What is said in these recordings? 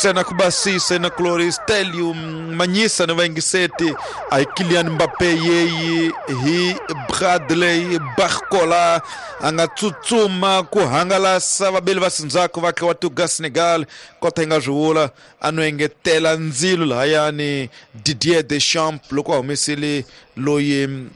Ntsena ku basisa na kulori Stelio Manyisa ni vayingiseti a hi Kylian Mbappe yeyi hi Bradley Barcola a nga tsutsuma ku hangalasa vabeli va sindzhaku va wa tuga Senegal kota yi nga swi vula a no engetela ndzilo lahayani Didier Deschamps loko a humesile loyi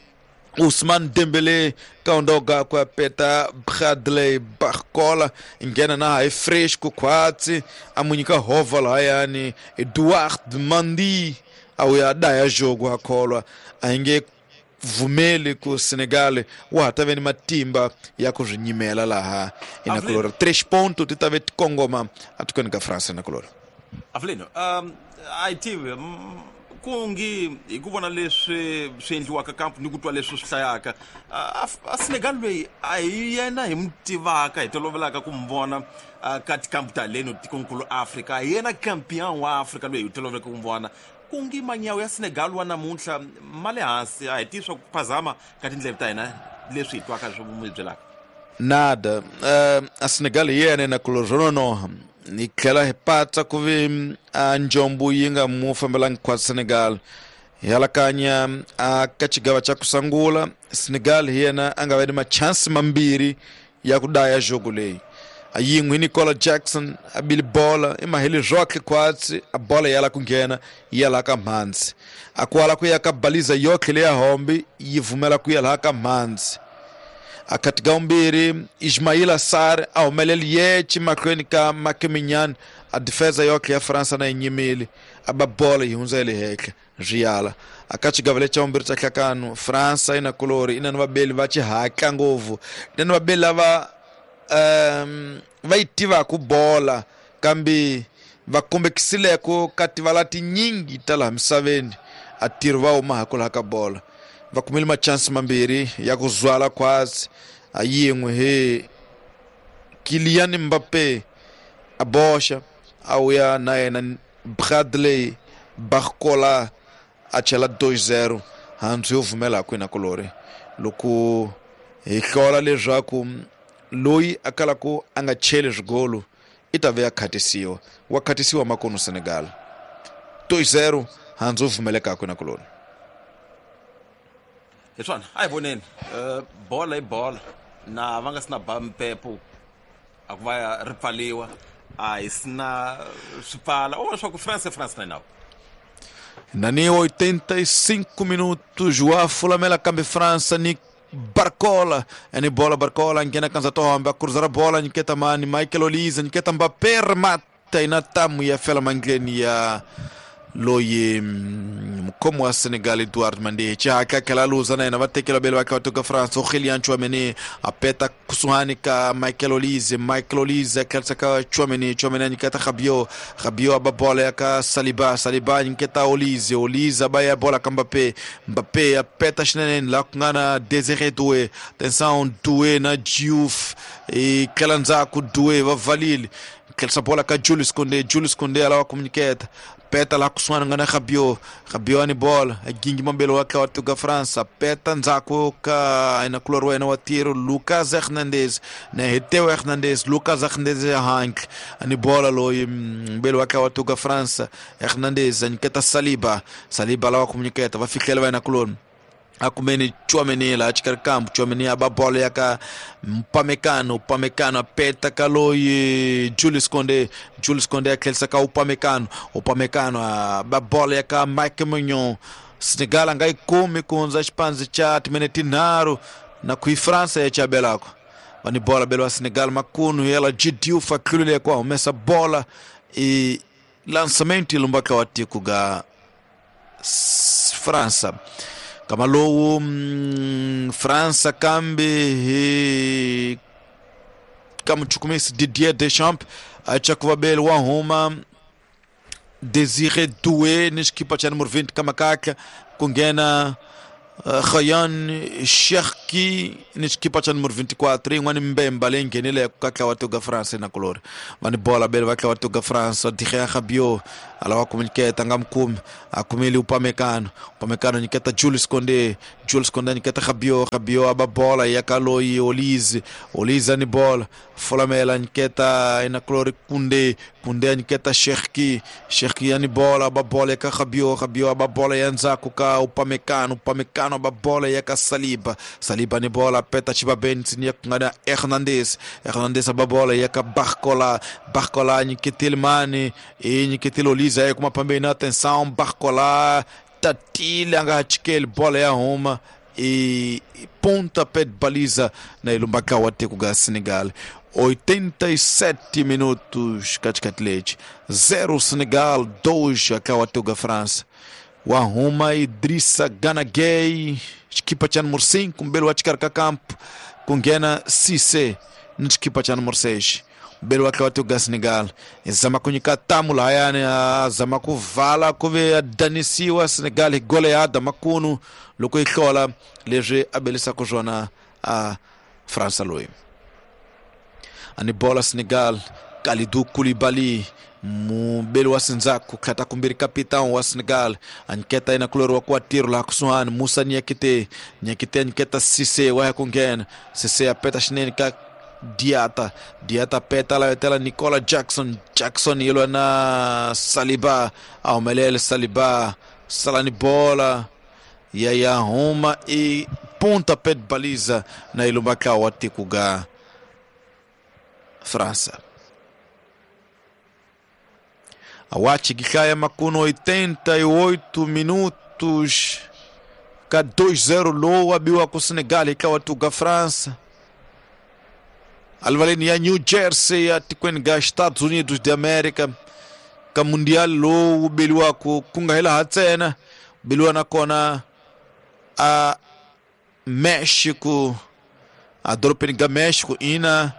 Ousmane Dembele kaondoga ku ya peta Bradley Barcola nghena na hi fresh ku khwatsi a mu nyika hova lahayani Edouard Mendy a wuya daya jogo a kholwa a hi nge pfumeli ku Senegal wa ha ta ve ni matimba ya ku swi nyimela laha inakulori 3 ponto ti ta ve ti kongoma atikweni ka France inakulori. Avelino, a hi tivi ku ngi hi ku vona leswi swi endliwaka kamp ni ku twa leswi swi hlayaka a Senegal loyi a hi yena hi mu tivaka hi tolovelaka ku mu vona ka tikampu ta leno tikonkulu Afrika, a hi yena champion wa Afrika loyi hi toloveleke ku mu vona. Ku ngi manyawu ya Senegal wa namuntlha ma le hansi, a hi tivi swa ku phazama ka tindleve ta hina leswi hi twaka swi mu byelaka. Nada, a Senegal hi yena inakulori swo nonoha hi tlhela hi patsa ku vi a njombo yi nga mu fambelangi khwatsi Senegal. Hi alakanya a ka xigava xa ku sungula Senegal hi yena a nga va ni machansi mambirhi ya ku daya jogo leyi. A yin'we hi Nicola Jackson a bile bola i maheli rock khwatsi a bola ya la ku nghena yi ya laha ka mhandzi. A kwala ku ya ka baliza yotlhe leya hombi yi vumela ku ya laha ka mhandzi. A kati ka vumbirhi Ismaila Sarr a humeleli yeche mahlweni ka Mike Maignan a defensa yotlhe ya Fransa na yi nyimile a ba bola yi hundza ya le henhla swi yala. A ka xigava lexi xa vumbirhi xa hlakano Fransa yi na kulori i na ni vabeli va xihatla ngopfu, i na ni vabeli lava va yi tivaka bola kambe va kombekisileko ka tivala tinyingi ta laha misaveni a tirho va huma ha ku laha ka bola. Va kumile machansi mambirhi ya ku zwala khwatsi, a yin'we hi Kylian Mbappe a boxa a wuya na yena Bradley Barcola a chela 2-0 handzu yo vumela kwina kulori. Loko hi hlola leswaku loyi a kalaku a nga cheli swigolo i ta ve a khatisiwa, wa khatisiwa makono Senegal 2-0 handzu yo vumeleka kwina kulori. Hi swona a hi voneni bola i bola na va nga si na ba mpepo a ku va ri pfaliwa a hi si na swi pfala u vona swa ku France France na nawu. Nani 85 minutos wa fulamela kambe França ni Barcola ni bola Barcola nghena kanza tohombe a cruzar bola nyiketa mani Michael Olise nyiketa Mbappé remata ina tamu ya fela mandleni ya loyi mukhomi wa Senegal Edouard Mendy. Xihatla tlhela a luza na yena va tekela vele va kha va toka France Aurélien Tchouaméni a peta kusuhani ka Michael Olise, Michael Olise a tlherisa ka Tchouaméni, Tchouaméni a nyiketa Rabiot, Rabiot a ba bola ya ka Saliba, Saliba a nyiketa Olise, Olise a ba ya bola ka Mbappé, Mbappé a peta xinene laha ku nga na Désiré Doué. Atenção, Doué na Diouf i tlhela ndzhaku Doué va valile tlherisa bola ka Jules Koundé, Jules Koundé a lava ku nyiketa peta laha kusuhani nga na Rabiot, Rabiot a ni bola a gingi mambelo wa tlawa tuga France peta ndzhaku ka ina kulori wa yena wa tiro Lucas Hernandez na Heteo Hernandez, Lucas Hernandez ya handle a ni bola loyi mbelo wa tlawa tuga France Hernandez a nyiketa Saliba, Saliba lava ku nyiketa va fihlela va yena kuloni a kumeni Tchouaméni laha xikarhi kambu Tchouaméni a ba bolo ya ka Upamecano, Upamecano a peta ka loyi Jules Koundé, Jules Koundé a tlherisa ka Upamecano, Upamecano a ba bolo ya ka Mike Maignan. Senegal a nga yi kumi ku hundza xipandzi xa timinete tinharhu na ku yi France ya chabelako va ni bola belo wa Senegal makunu yela Diouf a tlulile ku a humesa bola i lançamento lombaka wa tiko ga França. Kama lowu França kambe hi ka muchukumisi Didier Deschamps a cha ku vabeli wa huma Désiré Doué ni xikipa xa numero 20 ka makatla ku nghena Rayan Cherki ni xikipa xa numero 24 yin'wana mbemba leyi nghenile ka tlawa toga France na kulori va ni bola bele va tlawa toga France Adrien Rabiot Alawa kumunyiketa nga mukumi akumile Upamecano. Upamecano nyiketa Jules Koundé. Jules Koundé nyiketa Rabiot. Rabiot aba bola ya kaloi Olise. Olise ni bola. Folamela nyiketa inaklori Koundé. Koundé nyiketa Cherki. Cherki ani bola aba bola ya ka Rabiot. Rabiot aba bola ya nzaku ka Upamecano. Upamecano aba bola ya ka Saliba. Saliba ni bola peta Chibabenti ni kungana Hernandez. Hernandez aba bola ya ka Barcola. Barcola nyiketele mani e nyiketele Olise aí com uma pambena, atenção, Barcola tatilha angachikele bola ya Roma e pontapé de baliza na ilumbaka wa tekuga Senegal. 87 minutos katikati 0 Senegal, 2 akawa tekuga França. Wa Roma Idrissa Gana Gueye, equipa cha número 5, mbele wa chikarka campo kungena Cissé na equipa cha número 6. Mbele wake watuga Senegal zama kunyika tamu lahayani zama kuvala kuve adanisiwa Senegal goleada makunu loko ihlola leswi abelisa kuzvona a França loyi ani bola Senegal Kalidou Koulibaly mubeli wa Sinzaku khata kumbiri capitão wa Senegal anketa ina kulori wa kuatiro la kusuhani Musa Niakite Niakite anketa Cissé wa kungena Cissé apeta xinene ka Diata, Diata petala etela Nicola Jackson, Jackson yelo na Saliba, aumelele Saliba, salani bola ya ya Roma e pontapé de baliza na ilumbaka wa tikuga França. Awachi gikaya makuno 88 minutos ka 2-0 low abiwa ku Senegal ikawa tuga França. Alvaleni ya New Jersey ya tikweni ga Estados Unidos de América ka mundial lowu beliwako ku nga hela ha ntsena beliwa nakona a México a dorobeni ga México ina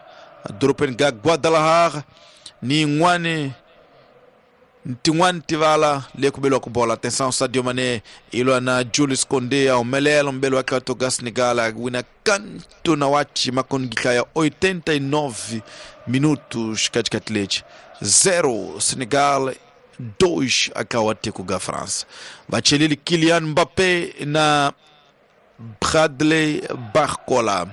a dorobeni ga Guadalajara ni yin'wani tin'wani tivala leyi ku beliwaka bola. Atenção, Sadio Mané ilwa na Jules Koundé a humelela mubeli wa Klato ga Senegal a wina kanto na wachi makongika ya 89 minutos katikati lechi 0 Senegal 2 akawa tiko ga France. Vachelili Kylian Mbappé na Bradley Barcola.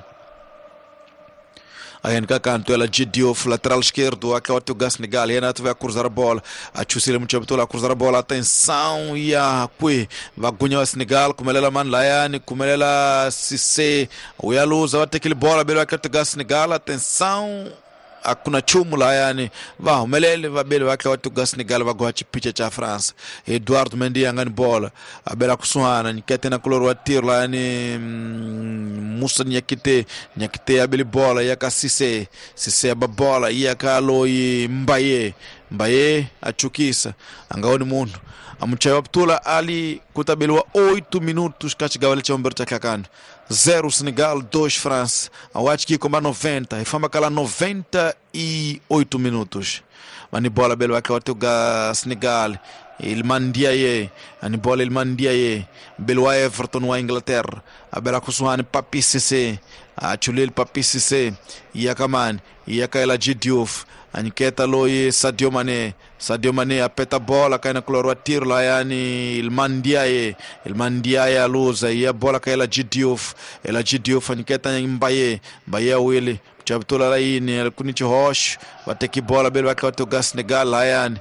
Ayen kanto ela Diouf, lateral esquerdo, aquela teu Senegal, Renato vai cruzar a bola, a Chusile Muchabitola cruzar a bola, atenção, e a Kui, vagunha o Senegal, como ela man Layane, como ela Cissé, o Yaluza, vai ter aquele bola, belo aquela teu Senegal, atenção, akuna chumu layani va humelele vabeli vakhe wa tuga Senegal va goha chipicha cha France. Eduardo Mendy angani bola abela kusuhana nyikete na kulori wa tiro layani Musa Niakite Niakite abeli bola yaka Cissé Cissé aba bola yaka Aloyi Mbaye Mbaye achukisa angaoni munhu amuchayi wa putula ali kutabeliwa 8 minutos kachigawale cha ombero cha kakano 0 Senegal 2 France. Awachiki komba 90 ifamba kala 98 minutos mani bola belo wake watuga Senegal Iliman Ndiaye ani bola Iliman Ndiaye belo wa Everton wa Inglaterra abela kusuhani Papi Cissé achulil Papi Cissé yakamani yakaela Diouf anketa loyi Sadio Mané Sadio Mané apeta bola kaina kulorwa tiro la yani Iliman Ndiaye Iliman Ndiaye aluza ya bola kaela Diouf ela Diouf anketa Mbaye Mbaye awili chabtula laini kunichi hosh wateki bola bele wake watoga Senegal layani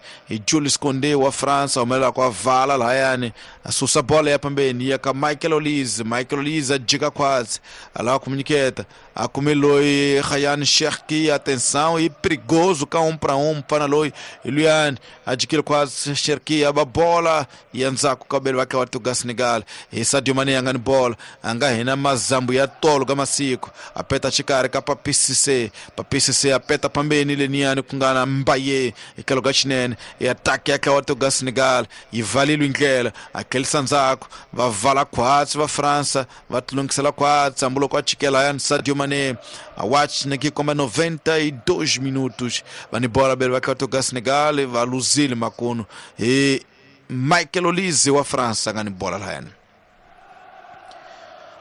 Jules Koundé wa France umela kwa vala layani asusa bola ya pembeni ya ka Michael Olise Michael Olise ajika kwazi ala kumuniketa akumeloi Ryan Cherki atenção e perigoso ka 1 para 1 pana loi Ilian ajikile kwazi Cherki aba bola yanza ku kabele wake watoga Senegal e Sadio Mané angani bola anga hina mazambu ya tolo kama siku apeta chikari ka Papi Cissé Papi Cissé apeta pambeni leniani kungana Mbaye ikaloga chinene e ataque yakawatoga Senegal ivalilwe indlela aquele sanzako vavala khwatsi va França vatilungisela khwatsi hambiloko a chikela yani Sadio Mané awachi nekikomba 92 minutos vani bola bele vakawatoga Senegal valuzile makuno e Michael Olise wa França ngani bola layani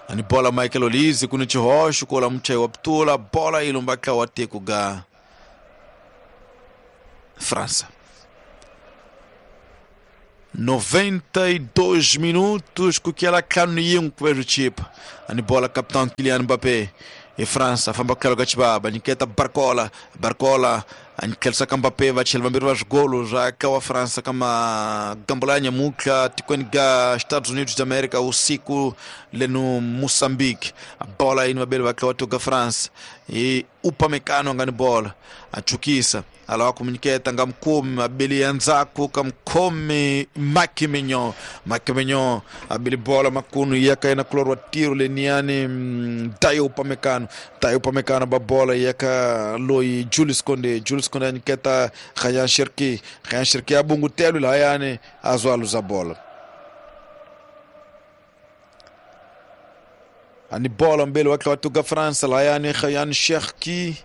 ani bola Michael Olise kuni chihoxo kola muchayi wa putula bola ilumbaka wa tiko ga França. 92 minutos ku kela ntlhanu ni yin'we ku ve swi chipa. Ani bola capitão Kylian Mbappé e França famba ku tlhelo ka xibaba, nyiketa Barcola. Barcola a tlherisa ka Mbappé, va chela vambirhi va swigolo swa ka wa França ka magambo ya nyamutlha tikweni ga Estados Unidos da América usiku leno Moçambique. A bola yini vabeli va tliwa tuka France hi Upamecano nga ni bola, a chukisa, a lava ku nyiketa nga mukhomi, abeli ya ndzhaku ka mukhomi Mike Mignon. Mike Mignon abeli bola makunu ya ka yena kulori wa tiro leniyani Dayo Upamecano. Dayo Upamecano ba bola ya ka loyi Julius Konde. Julius Konde a nyiketa Rayan Cherki. Rayan Cherki a bungutelo lahayani, a zwa a luza bola. Ani bola mbele wa tliwa tuka França lahayani Rayan Cherki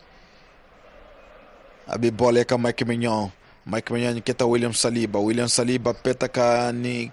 abi bola eka Mike Mignon. Mike Mignon nyiketa William Saliba. William Saliba peta ka ni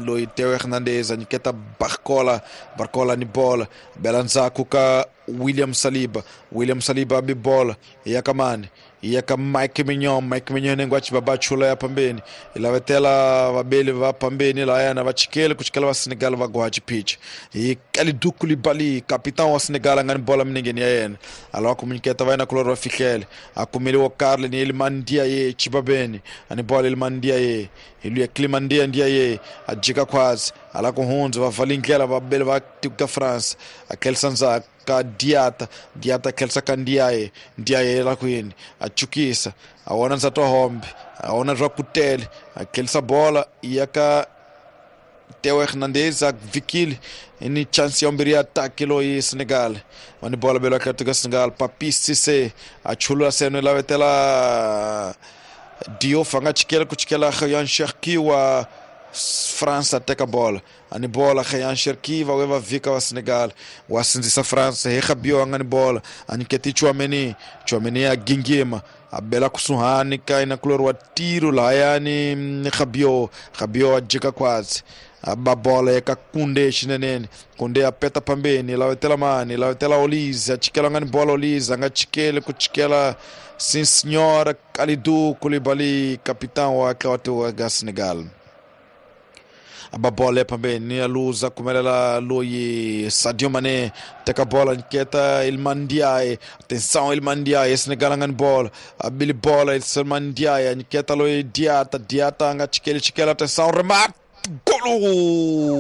loyi Theo Hernandez, a nyiketa Barcola. Barcola ni bola bela ndzhaku ka William Saliba. William Saliba abi bola ya ka mani? Ya ka Mike Mignon. Mike Mignon nengo achi baba chula ya pambeni, ilavetela vabeli va pambeni lahayana va chikele ku chikela va Senegal va goha chipicha hi Kalidou Koulibaly, capitão wa Senegal, a nga ni bola minengeni ya yena, a lava ku munyiketa va yena kulori va fihlele, a kumeliwa Karle ni Iliman Ndiaye chibabeni. A ni bola Iliman Ndiaye, hi luya Clément Ndiaye. Ndiaye a jika khwazi, a lava ku hundza, va vali ndlela vabeli va tiko ka France, a tlherisa ndzhaku ka Diata. Diata tlherisa ka Ndiaye. Ndiaye la kwini, a chukisa, a vona ndzati wa hombe, a vona swa kutele, a tlherisa bola ya ka Theo Hernandez, a vikile ni chance ya mbirhi ya ataki loyi Senegal va ni bola belo ka Senegal. Papis Cissé a chulula seno lavetela Diouf, a nga chikela ku chikela Rayan Cherki wa França teka bola. Ani bola Rayan Cherki, va we va vika wa Senegal wa sindzisa France hi Rabiot a nga ni bola, a nyiketi Tchouameni. Tchouameni a gingima, a bela kusuhani ka ina kulori wa tiro lahayani Rabiot. Rabiot a jika khwazi, a ba bola eka Kunde xinenene. Kunde a peta pambeni, lavetela mani? Lavetela Olise, a chikela nga ni bola Olise, a nga chikeli ku chikela sim senhora Kalidou Koulibaly, capitão wa tliwa ga Senegal. Aba bola pambeni, a luza kumelela loyi Sadio Mané, teka bola, nyiketa Iliman Ndiaye. Atenção, Iliman Ndiaye, Senegal nga ni bola, abili bola Iliman Ndiaye, nyiketa loyi Diata. Diata nga chikeli chikela, atenção, remate, golo!